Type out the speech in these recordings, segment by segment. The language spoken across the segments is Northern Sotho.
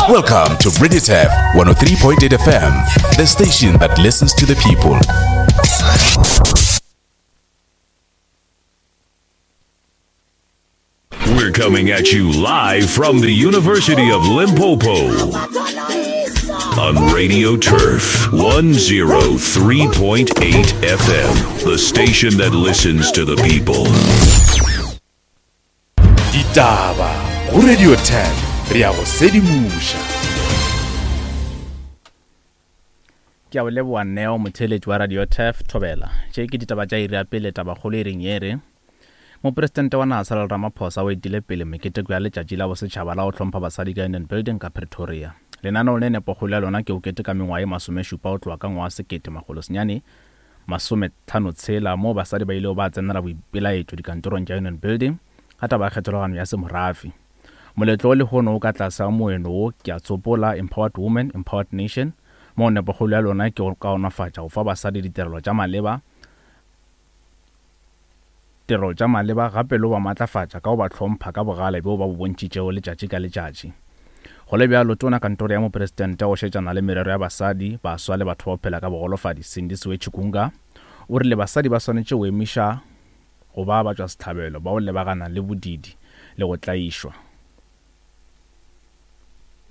Welcome to Radio Turf 103.8 FM, the station that listens to the people. We're coming at you live from the University of Limpopo on Radio Turf 103.8 FM, the station that listens to the people. Ditaba go Radio 10 re ya go sedimoša. Ke a o leboa Neo motheeletši wa Radio Turf Thobela. Tše ke ditaba tša iri ya pele tabakgolo e reng ye re Mopresidente wa naga Cyril Ramaphosa o etile pele meketeko ya letšatši la bosetšhaba la go hlompha basadi ka Union Building ka Pretoria. Lenaneo le nepokgolo ya lona ke go keteka mengwaga ye masomešupa go tloga ka ngwaga 1956 moo basadi ba ilego ba tsenela boipelaetšo dikantorong tša Union Building ka taba ya kgethologano ya semorafe. Moletlo wo lehono o ka tlase ga moeno wo ke a tsopola, Empowered Women, Empowered Nation, moo nepokgolo ya lona ke go kaonafatša go fa basadi ditirelo tša maleba, tirelo tša maleba gape le go ba matlafatša ka go ba hlompha ka bogale bjo ba bo bontšhitšego letšatši ka letšatši. Go le bjalo, Tona Kantoro ya Mopresidente wa go šetšana le merero ya basadi, baswa le batho ba go phela ka bogolofadi, Sindisiwe Chikunga, o rile basadi ba swanetše go emiša go ba batšwasehlabelo ba go lebagana le bodiidi le go tlaišwa.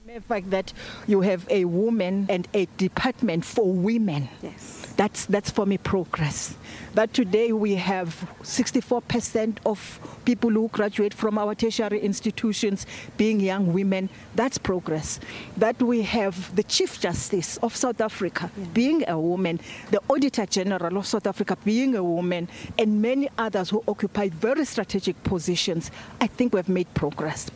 The fact that you have a woman and a department for women. Yes. That's, that's for me progress. That today we have 64% of people who graduate from our tertiary institutions being young women. That's progress. That we have the Chief Justice of South Africa yeah. being a woman, the Auditor General of South Africa being a woman, and many others who occupy very strategic positions. I think we've made progress.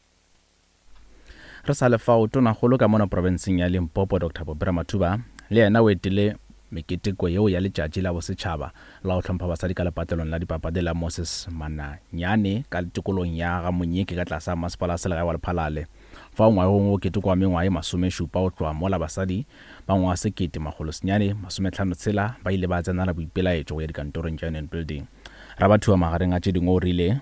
Re sa le fao, Tonakgolo ka mono profenseng ya Limpopo Doctor Bobra Mathuba le yena o etile meketeko yeo ya letšatši la bosetšhaba la go hlompha basadi ka lepatlelong la dipapadi la Moses Mananyane ka tikolong ya ga Monyeke ka tlase ga masepala wa selegae wa Lephalale. Fao ngwageng wo o ketekwa mengwaga ye masomešupa go tloga mola basadi ba ngwaga 1956 ba ile ba tsenela boipelaetšo go ya dikantorong tša Union Building. Rabathuba magareng a tše dingwe o rile,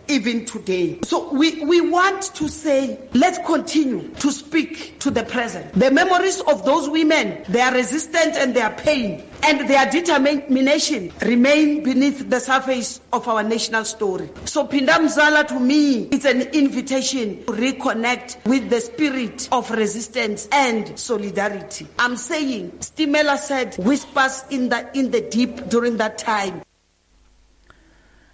even today. So we, we want to say, let's continue to speak to the present. The memories of those women, their resistance and their pain and their determination remain beneath the surface of our national story. So Pindamzala to me, it's an invitation to reconnect with the spirit of resistance and solidarity. I'm saying, Stimela said, whispers in the, in the deep during that time.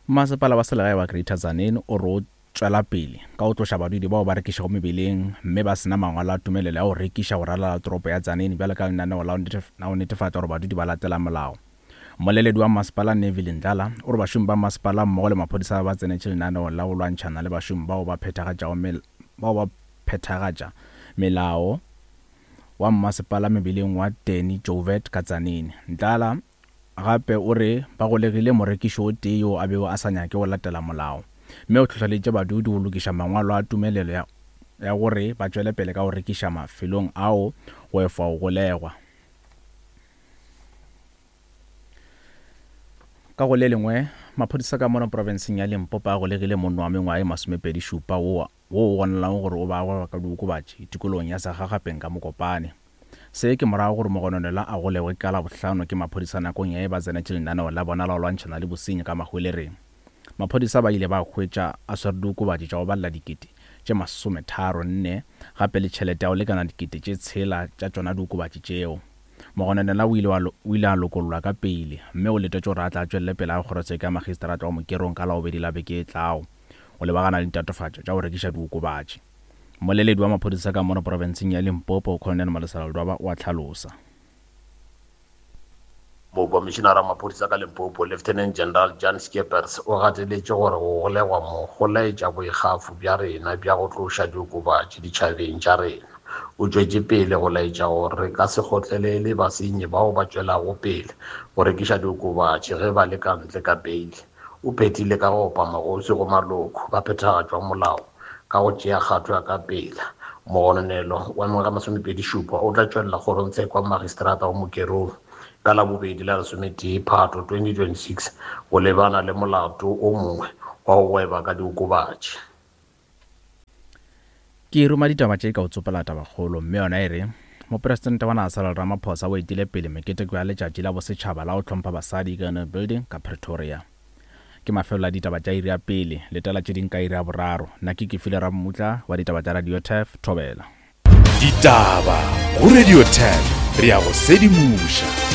Masepala wa selegae wa Greater Tzaneen o re o tšwela pele ka go tloša badudi bao ba rekišago mebeleng mme ba se na mangwalo a tumelelo ya go rekiša go ralala toropo ya Tzaneen bjalo ka lenaneo la go netefatša gore badudi ba latela molao. Mmoleledi wa masepala Neville Ndlala o re bašomi ba masepala mmogo le maphodisa ba tsenetše lenaneo la go lwantšhana le bašomi bao ba phethagatšago bao ba phethagatša melao wa mmasepala mebeleng wa Danny Joubert ka Tzaneen. Ndlala Gape o re ba golegile morekiši o tee yoo a bego a sa nyake go latela molao, mme o hlohleleditše badudi go lokiša mangwalo a tumelelo ya ya gore ba tšwele pele ka go rekiša mafelong ao go efa go golegwa. Ka go le lengwe, maphodisa ka mono profenseng ya Limpopo a golegile monna wa mengwaga ye masomepedi-šupa wo wo o gononelago gore o be a gweba ka diokobatši tikologong ya Segagapeng ka Mokopane. Se ke morago gore mogononelwa a golegwe ka Labohlano ke maphodisa nakong ya ge ba tsenetše lenaneo la bona la go lwantšhana le bosenyi ka Mahwelereng. Maphodisa ba ile ba hwetša a swere diokobatši tša go balela dikete tše masometharo nne gape le tšhelete ya go lekana dikete tše tshela tša tšona diokobatši tšeo. Mogononelwa o ile o ile a lokollwa ka peile mme o letetšwe gore a tle a tšwelele pele ga kgorotsheko ya magistrata wa Mokerong ka Labobedi la beke e tlago go lebagana le ditatofatšo tša go rekiša diokobatši. Mmoleledi wa maphodisa ka mono profenseng ya Limpopo, Colonel Malesela Ledwaba o a hlalosa. Mokomišinara wa maphodisa ka Limpopo, Lieutenant General Jan Scheepers o gateletše gore go golegwa mo go laetša boikgafo bja rena bja go tloša diokobatši ditšhabeng tša rena. O tšwetše pele go laetša gore re ka se kgotlelele basenyi bao ba tšwelago pele go rekiša diokobatši ge ba le ka ntle ka peile. O phethile ka go opa magoswi go maloko ba phethagatšwa molao ka go tšea kgato ya ka pela. Mogononelo wa mengwaga masomepedi-šupa o tla tšwelela kgorongtsheko ya magistrata wa Mokerong ka Labobedi la lesometee Phato 2026 go lebana le molato o mongwe wa go gweba ka diokobatši. Ke ruma ditaba tše ka o tsopola tabakgolo mme yona e re, Mopresidente wa naga Cyril Ramaphosa o etile pele meketeko ya Letšatši la Bosetšhaba la go Hlompha Basadi ka Union Building ka Pretoria. Ke mafelelo a ditaba tša iri ya pele, letela tše ding ka iri ya boraro. Nna ke Kefile Rammutla wa ditaba tša Radio Turf, Thobela. Ditaba go Radio Turf, re a go sedimoša.